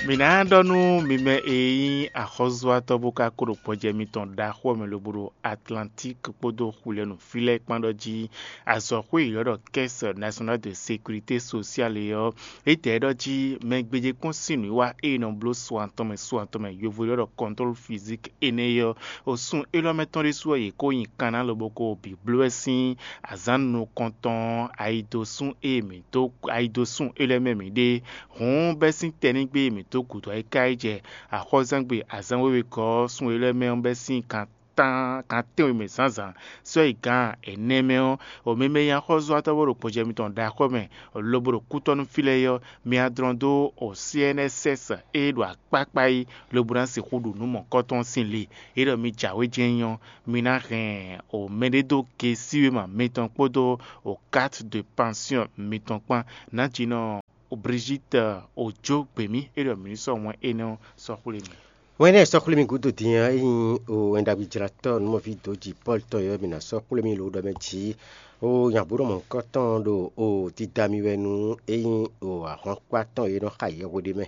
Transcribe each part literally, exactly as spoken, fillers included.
Mǐ ná ɖɔ nú mi mɛ e nyí axɔ́zúatɔ́ bó ka kó ɖo gbɔjɛ mitɔn ɖaxó ɔ́ mɛ lobo ɖo Atlantík kpódó Xulɛnu fí lɛ́ɛ kpán ɖɔ jí azɔ̌xwé yěɖɔ́ ɖɔ Caisse Nationale de Sécurité Sociale é ɔ́, é tɛ ɖɔ jí mɛ gbéjé kpɔ́n sín nǔwiwa e nɔ bló so atɔn mɛ so atɔn mɛ yovo yěɖɔ́ ɖɔ contrôle physique énɛ́ é ɔ́, o sun élɔ́ mɛ tɔn ɖésú ɔ́, yě kó nyi kanná lobo ko bǐ bló wɛ sín azǎn nukɔntɔn ayidosún e mǐ dó ayidosún élɔ́ mɛ mǐ ɖe. Hǔn bɛ́ sín tɛnígbe e mǐ dó gǔdo ɔ́, é ka yi jɛ axɔ́zangbe azǎn wěwe gɔ́ ɔ́, sun élɔ́ mɛ ɔ́ bɛ́ sín kan tán kan tɛ́nwe mɛ zǎnzǎn sɔ́ yi gǎn ɛnɛ mɛ ɔ́, o mɛ mɛ nyí axɔ́zúatɔ́ bó ɖo gbɔjɛ mitɔn ɖaxó mɛ lobo ɖo kútɔ́nú fí lɛ́ɛ é ɔ́, mi adlɔn dó o C N S S e ɖo akpákpá yi lobo ná sixú ɖu nǔ mɔ̌kɔtɔn sín li. É ɖɔ mi jǎwe jɛ́n nyí ɔ́, mi ná hɛn o mɛɖé dó gesíwéma mitɔn kpódó o carte de pension mitɔn kpán. Nǎjínɔ Brigitte Ojo gběmí é ɖɔ mǐ ní sɔ́ wɛn énɛ́ ɔ́ sɔ́ xwlé mi. Wɛn énɛ́ sɔ́ xwlé mi gúdo din ɔ́, é nyí o wɛnɖagbe jlatɔ́ nǔmɔví dǒ jǐ Pɔ́lu tɔn yɔ́ mǐ ná sɔ́ xwlé mi lo ɖɔ mɛ jǐ. O nyagbǒɖɔmɔ nukɔntɔn ɖo o dida mi wɛ nú é nyí o ahwankpá tɔn e nɔ xa yɛhwe ɖé mɛ,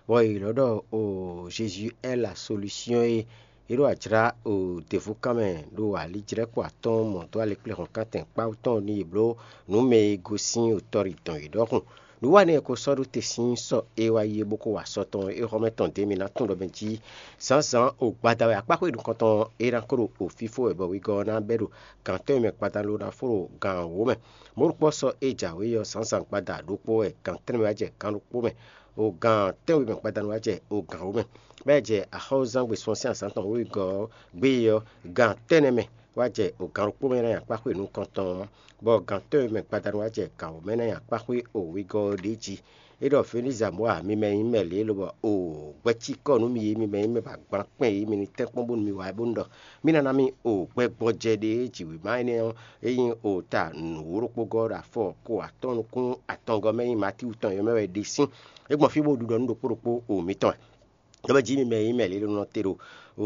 bɔ è lɔ̌ ɖɔ o Jésus est la solution e é ɖo ajlá o děvúkan mɛ ɖo alijlɛ́kpo atɔ́ɔ́n mɔ dó alɛkplɛ́hɔ̌nkántɛn kpáwú tɔn nú yě bló nǔ mɛ e gosín otɔ́ ɖi dɔn yě ɖɔhun. Nǔwanɛ e ko sɔ́ ɖó te sín sɔ e wá yi é bó ko wa sɔ tɔn é xɔ́mɛ tɔn dě mi ná tunwun ɖɔ mɛ jí zǎnzǎn o gbada wɛ akpáxwé nukɔntɔn é ná kó ɖo o fífó wɛ bɔ wegɔ́ ɔ́ ná bɛ́ ɖo gǎn tɔn e mɛ gbada ló ná fó ɖo gǎn wǒ mɛ. Mɔ̌ ɖokpó sɔ é jǎwe ɔ́, zǎnzǎn gbada ɖokpó wɛ gǎn tɛ́nwe wá jɛ gǎn ɖokpó mɛ, o gǎn tɛ́nwe mɛ gbadanu wá jɛ o gǎn wǒ mɛ. Bɔ é jɛ axɔ́zán gbesún sín azǎn tɔn wěwegɔ́ ɔ́ gbé é ɔ́, gǎn tɛ́nnɛ mɛ wá jɛ o gǎn ɖokpó mɛ ná nyi akpáxwé nukɔntɔn ɔ́, bɔ gǎn tɛ́nwe mɛ gbadanu wá jɛ gǎn wǒ mɛ ná nyi akpáxwé o wegɔ́ ɔ́ ɖě jí. É ɖɔ Fenizamɔ́a mi mɛ nyí mɛ lě lobɔ o gbɛcikɔ nú mi e mi mɛ nyí mɛ ba gban kpɛn e mi ní tɛ́nkpɔ́n bónú mi wá é bónú ɖɔ mí ná ná mì o gbɛgbɔjɛ ɖé e jǐwěma énɛ́ ɔ́, é nyí o ta nǔwóɖokpógɔ́ ɖo afɔ ko atɔ́ɔ́n nukún atɔngɔ́ mɛ nyí Matíwu tɔn yɔ́ mɛ wɛ ɖe sín. É gbɔn fí bó ɖiɖɔ nú ɖokpó ɖokpó o mitɔn wɛ. Lɔbɔ jí mi mɛ e nyí mɛ lě nɔ te ɖo o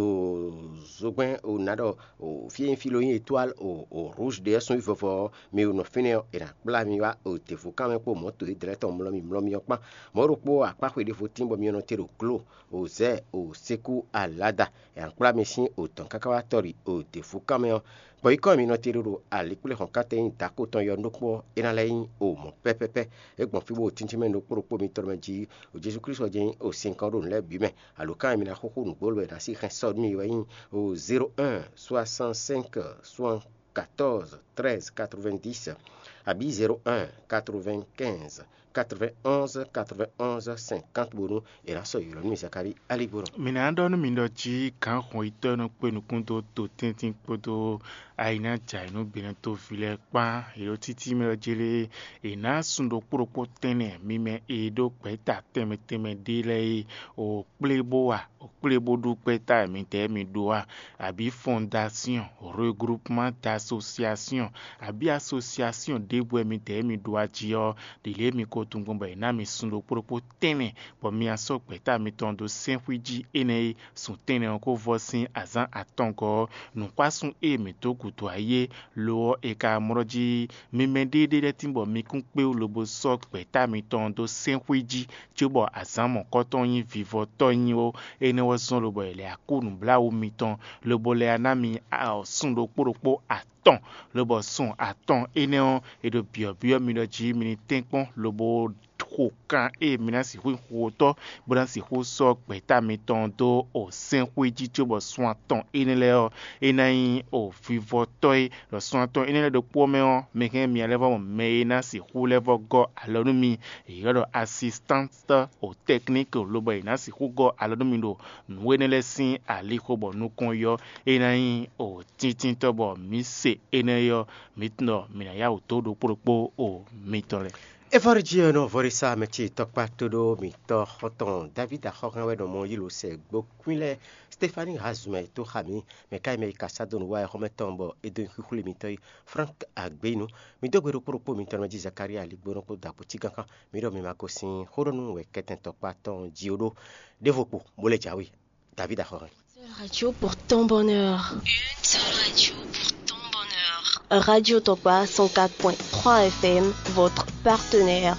zogbɛ́n o nǎ ɖɔ o fí e nyí fí ló nyí étoile o o rouge ɖé ɔ́ sún vɔvɔ ɔ́, mi o nɔ fínɛ́ ɔ́, è nǎ kplá mi wá o děvúkan mɛ kpó mɔ̌to e dlɛ́ tɔn mlɔ́ mi mlɔ́ mi ɔ́ kpán. Mɔ̌ ɖokpó akpáxwe ɖěvo tín bɔ mi nɔ te ɖo glo o zɛ o sékú alada. È nǎ kplá mi sín o dɔ̌n káká wá tɔ́ ɖi o děvúkan mɛ ɔ́. Gbɔ̌yíkɔ e mi nɔ te ɖo ɖo alikpléhɔ̌nkántɛn nyí dǎko tɔn yɔ̌nu ɖokpó ɔ́, é ná lɛ́ nyí o mɔ̌ pɛ́pɛ́pɛ́. É gbɔn fí bó o tíntín mɛ ɖokpó ɖokpó mitɔn mɛ jí o Jezu Klísu ɔ́ jɛ́n nyí o sinkɔn ɖo nǔ lɛ́ɛ bǐ mɛ. Alo kan e mi ná xúxú nǔgbó lɔ è nǎ sí hɛn sɔ́ nú mi wɛ nyí o zéro un soixante-cinq soixante-quatorze treize quatre-vingt-dix, abǐ zéro un quatre-vingt-quinze quatre-vingt-onze quatre-vingt-onze cinquante bónú è nǎ sɔ́ ylɔ̌ nú mi Zakalíi Aligbónɔ. Mǐ ná ɖɔ nú mi ɖɔ jí gǎnhɔnyitɔ́ e nɔ kpé nukún dó to tɛ́ntin kpódó ayinájǎyinú gbenɔtóví lɛ́ɛ kpán, yě ɖo títí mɛ ɔ́ jlé è nǎ sun ɖokpó ɖokpó tɛ́nnɛ mi mɛ e ɖó gbɛ̌ta tɛnmɛ tɛnmɛ ɖé lɛ́ɛ é, o kplé bó wa, o kplé bó ɖu gbɛ́ta e midɛɛ mi ɖó a, abǐ fɔndasyɔn, regroupement d'association, abǐ asosiasyɔn ɖěbǔ e midɛɛ mi ɖó a jí ɔ́, ɖě lě mi ko tunwun gbɔn bɔ è nǎ mi sun ɖokpó ɖokpó tɛ́nnɛ, bɔ mi ná sɔ́ gbɛ̌ta mitɔn dó sɛ́nxwí jí énɛ́ e sun tɛ́nnɛ ɔ́ ko vɔ sín azǎn atɔngɔ́ ɔ́. Nǔxwásún e mǐ dó gǔdo ayé lo ɔ́, è ka mlɔ́ jí mi mɛ ɖéeɖée lɛ́ɛ tín bɔ mi kún kpé wú lobo sɔ́ gbɛ̌ta mitɔn dó sɛ́nxwí jí, cóbɔ azǎn mɔ̌kɔtɔn nyí vivɔtɔ́ nyi ó. Énɛ́ wɛ zɔ́n lobo è lɛ̌ akú nǔbláwǔ mitɔn, lobo lɛ́ ná mi sun ɖokpó ɖokpó atɔn, lobɔ sun atɔn énɛ́ ɔ́, è ɖo byɔ̌byɔ́ mi ɖɔ jí mi ní tɛ́nkpɔ́n lobo xo kan e mi ná sixú nyí xotɔ́, bó ná sixú sɔ́ gbɛ̌ta mitɔn dó o sɛ́nxwé jí cóbɔ sun atɔn énɛ́ lɛ́ɛ ɔ́, é ná nyí o vivɔtɔ́ é. Ɖɔ sun atɔn énɛ́ lɛ́ɛ ɖokpó ɔ́ mɛ ɔ́, mi hɛn mia lɛ́ vɔ mɔ mɛ e ná sixú lɛ́ vɔ gɔ́ alɔ nú mi, è ylɔ́ ɖɔ asistánti o tɛkníki, lobɔ è nǎ sixú gɔ́ alɔ nú mi ɖo nǔ énɛ́ lɛ́ɛ sín alixo bɔ nukɔn yɔ, é ná nyí o tíntítɔ́ bɔ mǐ se énɛ́ ɔ́, mǐ tunwun ɖɔ mǐ ná yá wǔ dó ɖokpó ɖokpó o mitɔn lɛ́ɛ. Evɔ́ɖíjí ɔ́ nɔ vɔ́ɖísá mɛ ce tɔkpá tóɖó mǐtɔn xɔ́ntɔn David axɔ́hɛn wɛ nɔ mɔ yí lǒ sɛ gbókwín lɛ́ɛ. Stéphanie Hazumɛ tó xa mǐ, mɛ ká yi mɛ yi ka sá dó nǔ wa ɛ xɔ́mɛ tɔn bɔ é dó nyi xwíxwlé mitɔn yi. Frank Agbénu, mǐ dó gbe ɖokpó ɖokpó mitɔn mɛ jí Zakaria Aligbónɔ kpó dɔ̌ akpó cí gánkan. Mǐ ɖɔ mi ma gosín xóɖɔnú wɛ kɛtɛn tɔkpá tɔn jí ó ɖó. Ɖěvo kpo, bó lɛ́ jǎwe. David axɔ́hɛn. Seule radio pour ton bonheur. Une seule radio pour ton bonheur. Radio Tokpa cent quatre point trois F M, votre partenaire.